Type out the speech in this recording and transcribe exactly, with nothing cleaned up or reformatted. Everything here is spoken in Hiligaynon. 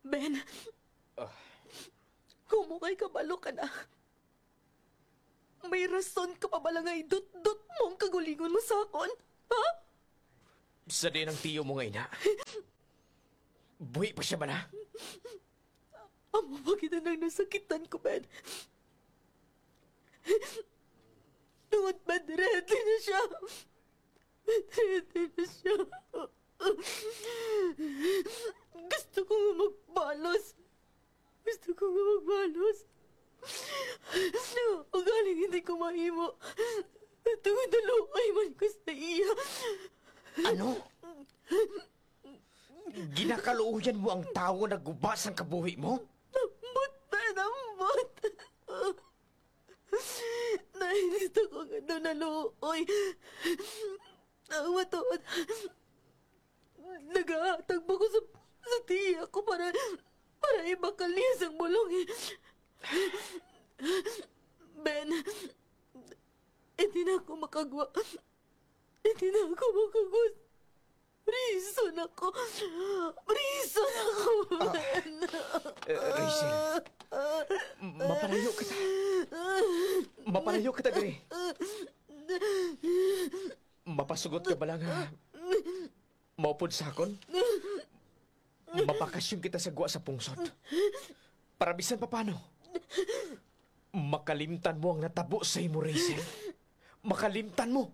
Ben, Ah. Kung mo kay kabalo ka na, may rason ka pa bala nga idutdot mo ang kagulingon mo sa akon? Ha? Sa diin ang tiyo mo nga ina? Buhi pa siya bala? Amo ba gid ang nasakitan ko, Ben? Tungod ba, ready na siya? Ready na siya. Gusto ko nga magbalos. Gusto ko nga magbalos. Ugaling hindi ko mahimo. Tungod naluoy man ko sa iya. Ano? Ginakaluoyan mo ang tawo nga nagguba sang kabuhi mo? Ambot, Ben, ambot. Nay, gusto ko nga daw naluoy. Ang matuod, nagahatag pa ko sa, sa tiya ko para, para ibakal niya sang bulong, eh. Ben, hindi na ako makagwa. Hindi na ako makagwa. Prison ako. Prison ako, Ah, Ben. eh, Rachel, m-, mapalayo kita. Mapalayo kita diri. Mapasugot ka bala nga maupod sa akon? Mabakasyon kita sa gwa sa pungsod. Para bisan pa paano, makalimtan mo ang natabo sa imo, Rachel. Makalimtan mo.